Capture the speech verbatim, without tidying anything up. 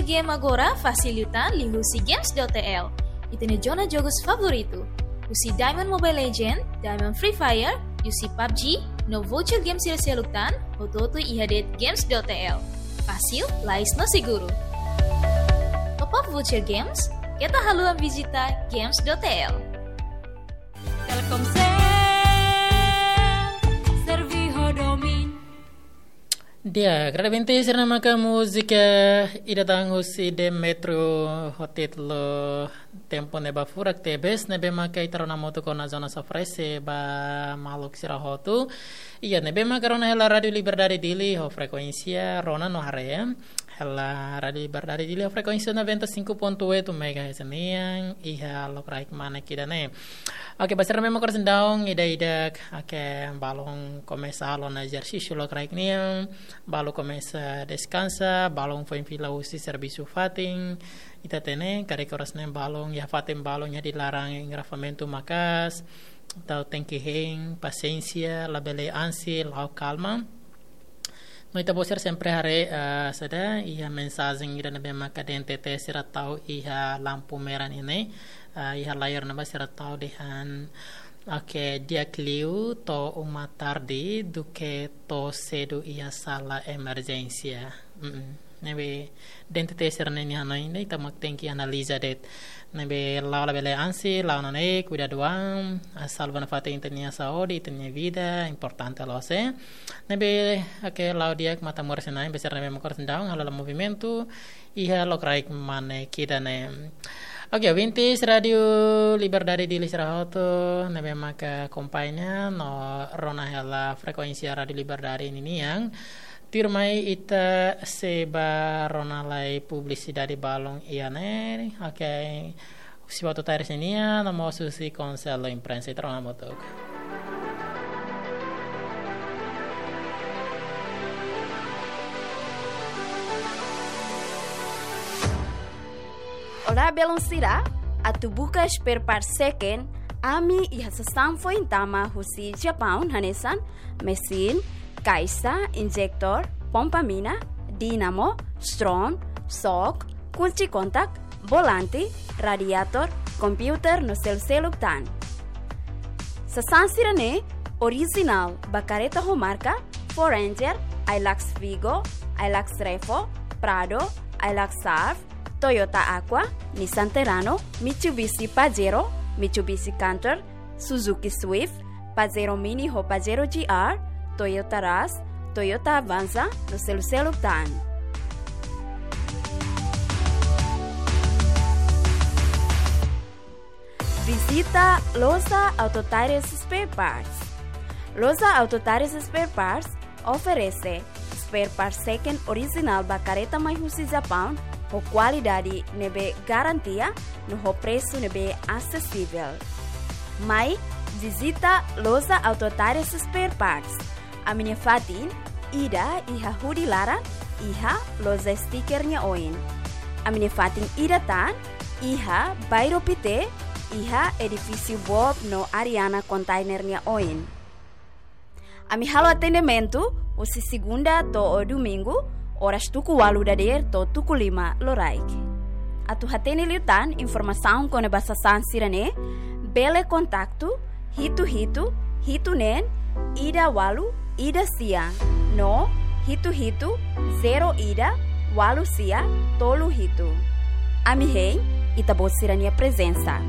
Game agora fasil liután liuhusi games dot T L. Ita-nia zona jogus favoritu. Husi Diamond Mobile Legend, Diamond Free Fire, husi pabji, no voucher games sira seluk tan, hotu-hotu iha de'it games dot T L. Fasil, lais no seguru. Top up voucher games, keta haluha vizita games dot T L. Telkomsel, servi ho domin. Di'ak, ita ouvinte sira, ne'e maka múzika ida tan husi Demetrio ho títulu Tempu Ne'ebé Furak tebes, ne'ebé maka ita rona hamutuk ona zona sofrese ba maluk sira hotu. Iha ne'ebé maka rona hela Rádio Liberdade Dili ho frekuénsia rona no haree hela Rádio Liberdade Dili ho frekuénsia noventa e cinco ponto oito megahertz nian iha lokraik mane ida-ne'e. Oke, ba sira ne'ebé maka oras ne'e daudaun ida-idak, oke, balun komesa halo ona ezersísiu lokraik nian, balu komesa deskansa, balun foin fila husi servisu fatin, ita hatene, karik oras ne'e balun iha fatin balun iha di laran engarrafamentu maka'as, entaun tenke hein, pasiénsia, labele ansi, la'o kalma. No ita-boot sira sempre haree, eh, saida, iha mensajen ida ne'ebé maka D N T T sira tau iha lampu merah ne'e, eh, iha layar ne'ebá sira tau dehan, oke, di'ak liu to'o uma tarde do que to'o sedu iha sala emerjénsia. Mm-mm. Ne'ebé D N T T sira-ne'e nia hanoin ne'e ita mak tenke analiza de'it. Ne'ebé la'o labele ansi, la'o nune'e, kuidadu an, ah, salva nafatin ita-nia saúde, ita-nia vida, importante loos. Ne'ebé, oke, la'o di'ak matan moras-na'in, ba sira ne'ebé maka oras ne'e daudaun, halo hela movimentu, iha lokraik mane ida-ne'e. Oke, ouvintes Rádio Liberdade Dili sira hotu, ne'ebé maka akompaña no rona hela frekuénsia Rádio Liberdade ninian. Tuirmai ita sei ba rona lai publisidade balun iha ne'e. Oke. Husi Auto Tires nian, no mós husi Konsellu Imprensa, ita rona hamutuk. Olá, belun sira, atu buka spare part second, ami iha sasán foin tama husi Japaun hanesan, mesin, kaixa, injektór, pompa mina, dínamo, stron, sok, kunci kontak, volante, radiator, komputer no seluk-seluk tan. Sasán sira-ne'e orijinál ba kareta ho marka, Ford Ranger, Hilux Vigo, Hilux Revo, Prado, Hilux Surf, Toyota Aqua, Nissan Terrano, Mitsubishi Pajero, Mitsubishi Canter, Suzuki Swift, Pajero Mini ho Pajero G R, Toyota Rush, Toyota Avanza, no seluk-seluk tan. Vizita Loja Auto Tires Spare Parts. Loja Auto Tires Spare Parts oferese spare part second orijinál ba kareta mai husi Japaun, ho kualidade ne'ebé garantia, no ho presu ne'ebé asesivel. Mai vizita Loja Auto Tires Spare Parts. Ami-nia fatin ida iha Hudi Laran, iha loja stiker nia oin. Ami-nia fatin ida tan iha Bairro Pité, iha edifísiu Bob no Ariana Container nia oin. Ami halo atendimentu husi segunda to'o domingu, oras tuku ualu dadeer to'o tuku lima loraik. Atu hatene liután informasaun kona-ba sasán sira-ne'e, bele kontaktu hitu hitu, hitu neen, ida ualu, ida sia, no hitu hitu, zero ida, ualu sia, tolu hitu. Ami hein ita-boot sira-nia prezensa.